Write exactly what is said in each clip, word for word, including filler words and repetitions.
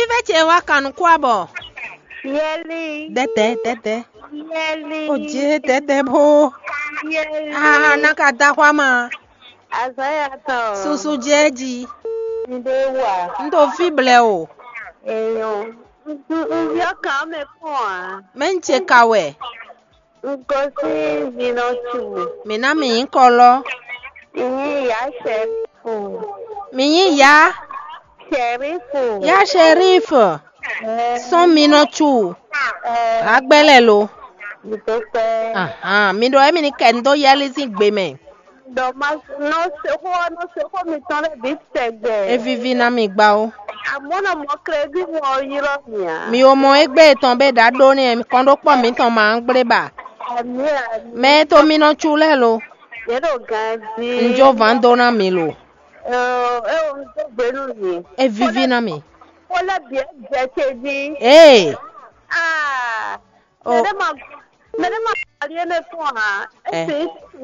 Fɛ́ ce wá kan nukún abɔ. Yɛli. Dɛdɛ, dɛdɛ. Yɛli. O jɛ dɛdɛ bó. Yɛli. Ah, na ka da xwa ma. Azɔ́ ya tɔn. Susu jɛ ji. N ɖe wa. N ɖo fí blɛ o. Eyo. N n n yɔ kan mɛ kpɔn a. Mɛ n ce ka wɛ. Un gosín Vinɔtu. Mǐ ná mǐ nyí kɔlɔ́. Mǐ nyí Yá Shɛrífu. Mǐ nyí Yá. Shɛrífu. Yá Shɛrífu. Ɛ, sɔ́n Minɔtu. Ɛ, Hagbɛ́ lɛ́ lo. Mǐ dó kpɛ́. Ahan, mi ɖɔ émi ní kɛ nu dó Yɛli sín gbe mɛ. Ɖɔ ma nɔ se xó ɔ́, nɔ se xó mitɔn lɛ́ɛ bǐ tɛgbɛ. É víví ná mi gbá ó. Amɔ̌ nɔ mɔ klɛ́bí mɔ ɔ́ ylɔ́ mì ǎ. Mi wo mɔ égbé tɔn bɛ ɖǎ ɖó nɛ́, kɔn ɖó kpɔ́ mǐtɔn ma gblé ba. Amǐ amǐ. Mɛ e to mi nɔ cu lɛ́ɛ lo. Yě ɖo ganjí. Un jó vǎn dó ná mi lo. Ɔ, é wo un dó gbe nú mi. É víví ná mi. Xó lɛ́ɛ bǐ é jɛ ce jí. Ee. Aa. O. Mɛ ɖé ma mɛ ɖé ma ali énɛ́ tɔn ǎ. É Ɛ. Sǐ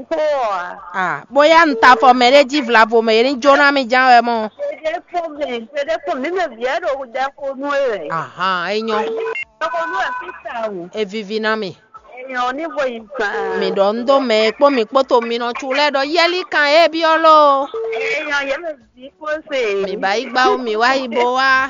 xó ɔ́ ǎ. Ah, bóyá un ta afɔ mɛ ɖé jí vlavo mɛ, é ní jó ná mi ján wɛ mɔ. Ɖeɖe kpɔn mɛ, ɖeɖe kpɔn mǐ mɛ vǐ ɛ ɖo ɖɛ xo nú é wɛ. Ahan, é nyɔ́. Ɖɛ xo nú ɛ fí tawun. É víví ná mi. Èèyàn ní vo yi gbà. Mi ɖɔ un dó mɛ e kpó mi kpó to mi nɔ cu lɛ́ɛ ɖɔ yɛlí kan é byɔ́ ló. Èèyàn yě mɛ vǐ kpó se. Mi ba yi gbá ó, mi wá yi bo wá.